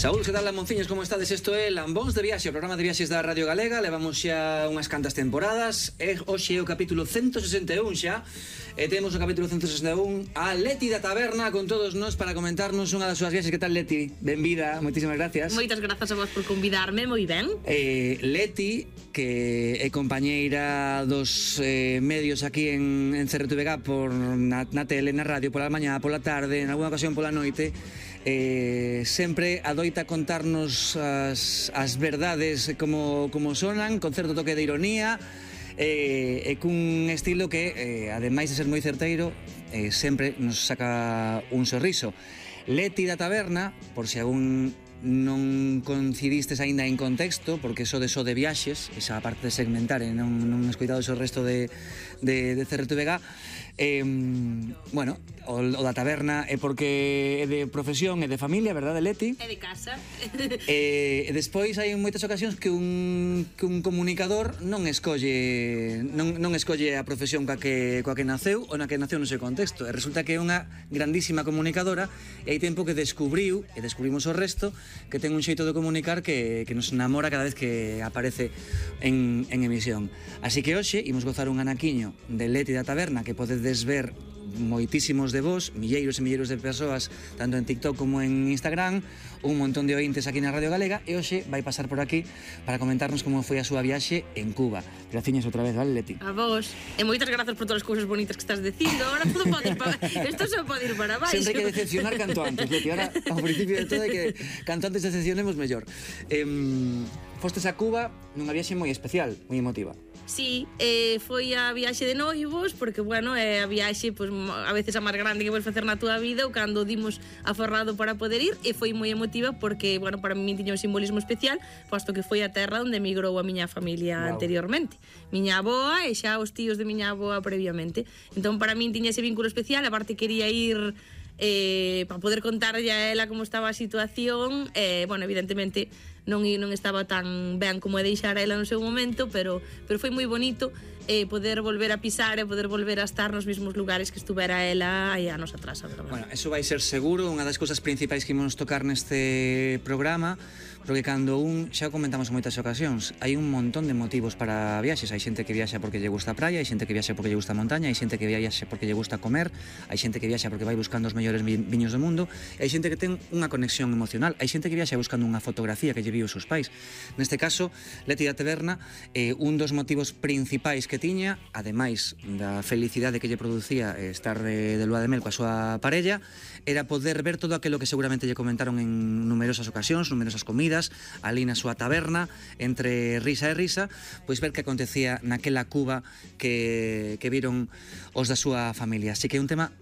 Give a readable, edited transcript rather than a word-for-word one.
Saúl, que tal, Lamonciños, como estades? Isto é Lambóns de Viaxe, o programa de viaxes da Radio Galega. Levamos xa unhas cantas temporadas. Hoxe é o capítulo 161 xa. E temos o capítulo 161 a Leti da Taberna con todos nós para comentarnos unha das súas viaxes. Que tal, Leti? Benvida, moitísimas gracias. Moitas grazas a vos por convidarme, moi ben. Leti, que é compañeira dos medios aquí en CRTVG na tele, na radio, pola mañá, pola tarde, en algunha ocasión pola noite. Sempre adoita contarnos as verdades como sonan, con certo toque de ironía, e cun estilo que, ademais de ser moi certeiro, sempre nos saca un sorriso. Leti da Taberna, por se algún non coincidistes aínda en contexto, porque so de viaxes, esa parte de segmentar e non escoitado o resto de CRTVG. Bueno, o da taberna é porque é de profesión, é de familia, verdade, Leti? É de casa. E despois hai moitas ocasións que un comunicador non escolle a profesión coa que naceu ou na que naceu no seu contexto, e resulta que é unha grandísima comunicadora, e hai tempo que descubrimos o resto, que ten un xeito de comunicar que nos enamora cada vez que aparece en emisión. Así que hoxe imos gozar un anaquiño de Leti da Taberna, que podedes ver moitísimos de vos, milleiros e milleiros de persoas, tanto en TikTok como en Instagram, un montón de ointes aquí na Radio Galega, e hoxe vai pasar por aquí para comentarnos como foi a súa viaxe en Cuba. Graciñas outra vez, vale, Leti? A vos. E moitas grazas por todas as cousas bonitas que estás dicindo. Ahora todo pode ir para... Isto só pode ir para baixo. Sempre hai que decepcionar canto antes, Leti. Ahora, ao principio de todo, é que canto antes decepcionemos mellor. Fostes a Cuba nunha viaxe moi especial, moi emotiva. Sí, foi a viaxe de noivos, porque, bueno, é a viaxe, pues, a veces a máis grande que podes facer na túa vida, ou cando dimos aforrado para poder ir, e foi moi emotiva porque, bueno, para mí tiña un simbolismo especial, posto que foi a terra onde emigrou a miña familia anteriormente. Miña avoa e xa os tíos de miña avoa previamente. Entón, para mí tiña ese vínculo especial, aparte quería ir para poder contarlle a ela como estaba a situación. Bueno, evidentemente non estaba tan ben como é deixar a ela no seu momento, pero foi moi bonito poder volver a pisar e poder volver a estar nos mesmos lugares que estuvera ela hai anos atrás, a verdade. Bueno, eso vai ser seguro unha das cousas principais que imos tocar neste programa, porque cando xa o comentamos en moitas ocasións, hai un montón de motivos para viaxes. Hai xente que viaxa porque lle gusta a praia, hai xente que viaxa porque lle gusta a montaña, hai xente que viaxa porque lle gusta comer, hai xente que viaxa porque vai buscando os mellores viños do mundo, e hai xente que ten unha conexión emocional, hai xente que viaxa buscando unha fotografía que lle viu os seus pais. Neste caso, Leti da Taberna, un dos motivos principais que tiña, ademais da felicidade que lle producía estar de lua de mel coa súa parella, era poder ver todo aquilo que seguramente lle comentaron en numerosas ocasións, numerosas comidas, ali na súa taberna, entre risa e risa, pois ver que acontecía naquela Cuba que viron os da súa familia. Así que é un tema